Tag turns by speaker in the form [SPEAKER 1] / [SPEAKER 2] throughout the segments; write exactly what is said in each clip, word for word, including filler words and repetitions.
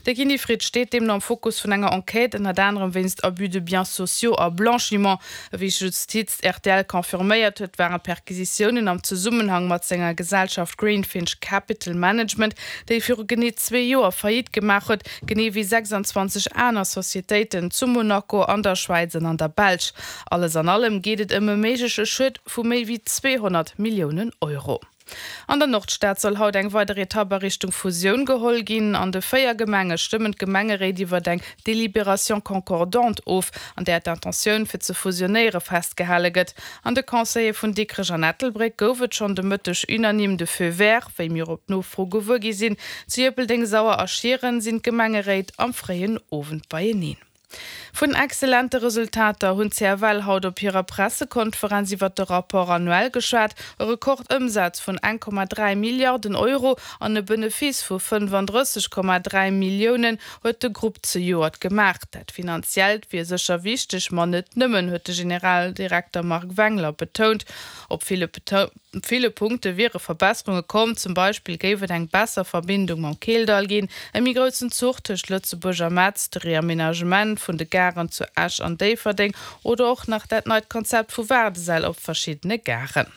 [SPEAKER 1] De Gini Fritsch steet deemno am Fokus vun enger Enquête, ënnert anerem wéinst Abus de biens sociaux a Blanchiment. Wéi Justiz rtl confirméiert huet, waren d'Perquisitiounen am Zesummenhang mat senger Gesellschaft Greenfinch Capital Management, déi viru genee zwee Joer Faillite gemaach huet, genee wéi sechsandzwanzeg aner Societéiten zu Monaco, an der Schwäiz an an der Belsch. Alles an allem geet et ëm e méigleche Schued vu méi wéi zweehonnert Milliounen Euro. An der Nordstad soll haut eng weider Etapp a Richtung Fusioun geholl ginn. An de véier Gemenge stëmmen d'Gemengeréit iwwert eng Délibération concordante of, an där d'Intentioun fir ze fusionéiere festgehale gëtt. An de Conseiller vun Dikrech an Ettelbréck gouf et schonn de Mëtteg unanime de Feu vert, wéi mir op Nofro gewuer gi sinn. Zu Ierpeldeng, Sauer a Schieren sinn d'Gemengeréit am fréien Owend beieneen. Vun excellente Resultater hunn d'CFL haut op hirer Pressekonferenz iwwert de Rapport annuel geschwat. E Rekordëmsaz vun eng Komma dräi Milliarden Euro an e Benefice vu fënnefandrësseg Komma dräi Milliounen huet de Grupp zejoert gemaach. Dat Finanziellt wier sécher wichteg, ma net nëmmen, huet de Generaldirekter Marc Wengler betount. Op ville ville Punkte wiere Verbesserunge komm, zum Beispill géif et eng besser Verbindung mam Keeldall ginn, e méi groussen Zuch tëscht Lëtzebuerg a Metz, de Reamenagement vun de Garen zu Esch an Déifferdeng oder och nach dat neit Konzept vu Waardesäll op verschiddene Garen.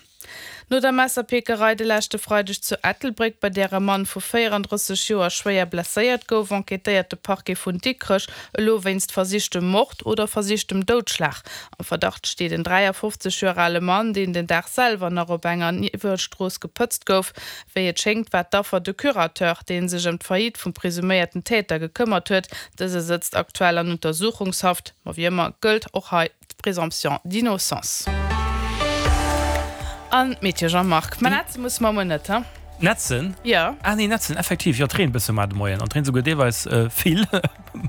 [SPEAKER 1] No der Messerpickerei de leschte Freideg zu Ettelbréck, bei där e Mann vu véierandrësseg Joer schwéier blesséiert gouf, enquêtéiert de Parquet vun Dikrech elo wéinst versichtem Mord oder versichtem Doudschlag. Am Verdacht steet en dräiafofzeg Joer ale Mann, deen den Dag selwer nach op enger Niewelstrooss gepëtzt gouf. Wéi et schéngt, war d'Affer de Curateur, dee sech ëm d'Faillite vum presuméierten Täter gekëmmert huet. Dëse sëtzt aktuell an Untersuchungshaft. Ma wéi ëmmer gëllt och hei d'Présomption d'innocence. An d'Meteo, Jean-Marc. Mä nätze musse mer muer net, he?
[SPEAKER 2] Nätzen?
[SPEAKER 1] Jo.
[SPEAKER 2] Ah nee, nätzen, effektiv, jo, et reent bësse mar de Moien an et reent souguer deelweis vill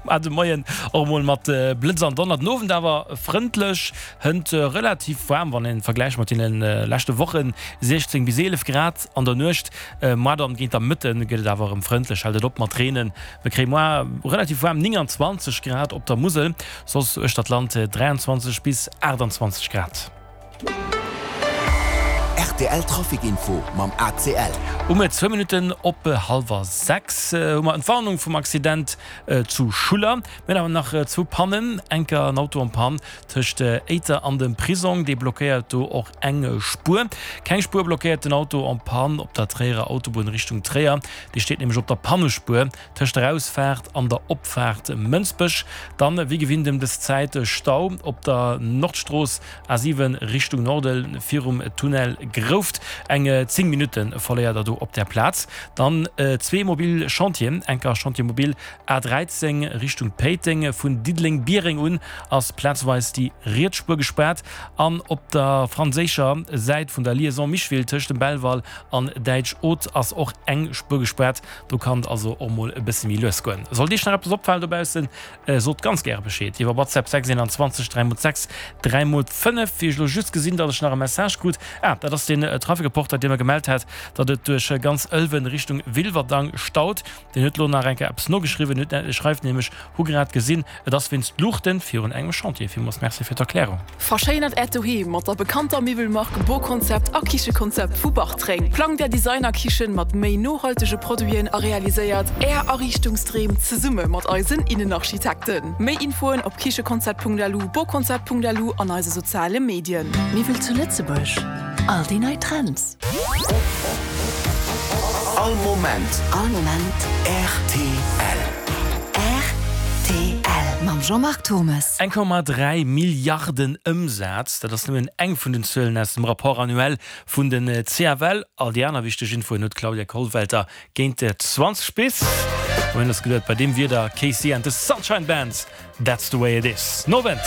[SPEAKER 2] mar de Moien, och emol mat Blëtz an Donner. Den Owend awer frëndlech, hënt relativ waarm, wann een vergläicht mat deene leschte Wochen, siechzéng bis eelef Grad an der Nuecht. Moar dann géint der Mëtte gëtt et awer erëm frëndlech, hält et op mat reenen. Mir kréie moar relativ waarm nénganzwanzeg Grad op der Musel, soss uechter d'Land dräianzwanzeg bis aachtanzwanzeg Grad.
[SPEAKER 3] Rtl Trafic Info mam A C L.
[SPEAKER 2] Um zwou Minutten op hallwer sechs hu mer Entwarnung vum Accident zu Schuller. Mir hunn awer nach zwou Pannen, enker en Auto en panne tëscht Éiter an dem Prisong, dee blockéiert do och eng Spuer. Keng Spuer blockéiert den Auto en panne op der Tréierer Autobunn Richtung Tréier, dee steet nämlech op der Pannespuer tëscht der Ausfaart an der Opfaart Mënsbech. Dann wéi gewinnt ëm dës Zäit Stau op der Nordstrooss A siwen Richtung Norden virum Tunnel Grouft. Eng zéng Minutte verléiert der do op där Plaz. Dann zwee mobil Chantieren, enker Chantier mobil A dräizéng Richtung Péiteng, vun Diddeleng-Biereng un ass plazweis déi riets Spuer gespaart an op der franséischer Säit vun der Liaison Micheville tëscht dem Belval an Däitsch-Oth ass och eng Spuer gespaart. Do kann et also och mol e bësse méi lues goen. Sollt Iech nach eppes opfalen dobaussen, sot ganz gäre Bescheed iwwer WhatsApp sechs einundzwanzeg dräi mol sechs dräi mol fënnef. Wéi ech elo just gesinn, datt ech nach e Message krut, ah, dat ass den Trafikreporter, dee mer gemellt hat, datt et duerch ganz Ëlwen Richtung Wilwerdang staut. Deen huet elo nach eng Kéier eppes nogeschriwwen, huet schreift nämlech, Hu grad gesinn, et ass wéinst Luuchten virun engem Chantier. Villmools Merci fir d'Erklärung.
[SPEAKER 4] Verschéinert Äert Doheem mat der bekannter Miwwelmark Boconcept a Kichekonzept vu Bartreng. Plangt Är Designerkichen mat méi nohaltege Produiten a realiséiert Är Ariichtungsdreem zesumme mat eisen Innenarchitekten. Méi Infoen op kichekonzept Punkt L U, boconcept Punkt L U an eise soziale Medien.
[SPEAKER 5] Miwwel zu Lëtzebuerg, all déi nei Trends.
[SPEAKER 3] All Moment.
[SPEAKER 5] All Moment.
[SPEAKER 3] R T L.
[SPEAKER 5] R T L mam Jean-Marc Turmes.
[SPEAKER 2] Eng Komma dräi Milliarden Ëmsaz, dat ass nëmmen eng vun den Zuelen aus dem Rapport annuel vun den C F L. All déi aner wichteg Infoen huet d'Claudia Kollwelter géint zwanzeg bis. Mir hunn eis geduet, bei deem Wieder, K C and the Sunshine Band, That's the way it is. Nowend!